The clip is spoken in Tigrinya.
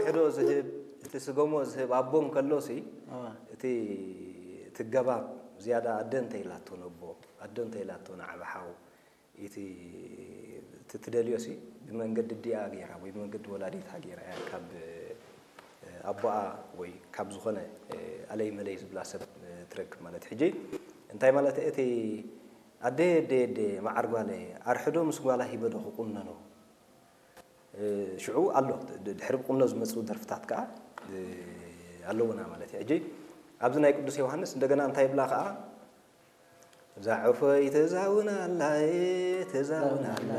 ሕዶ ዝህብ፣ እቲ ስገሞ ዝህብ ኣቦ እንከሎ ሲ፣ እዋ። እቲ እቲ ገባብ ዝያዳ ኣደ እንተ ኢላቶ ነቦ፣ ኣደ እንተ ኢላቶ ንዓቢ ሓው፣ እቲ እቲ ትደልዮ ሲ ብመንገዲ ዲኣ ገይራ ወይ ብመንገዲ ወላዲታ ገይራ እያ ካብ ኣቦኣ ወይ ካብ ዝኾነ ኣለይ መለይ ዝብላ ሰብ ትረክብ ማለት። ሕጂ እንታይ ማለት እቲ ኣደ ኣደ ኣደ መዓር ጓለ ኣርሕዶ ምስ ጓላ ሂበዶ ክቁነኖ ሽዑ ኣሎ ድሕሪ ብቁኖ ዝመፁ ደርፍታት ከዓ ኣለውና ማለት እዩ። ሕጂ ኣብዚ ናይ ቅዱስ ዮሃንስ እንደገና እንታይ ይብላ ከዓ እዛ ዕፎይ ተዛውና ኣላ ተዛውና ኣላ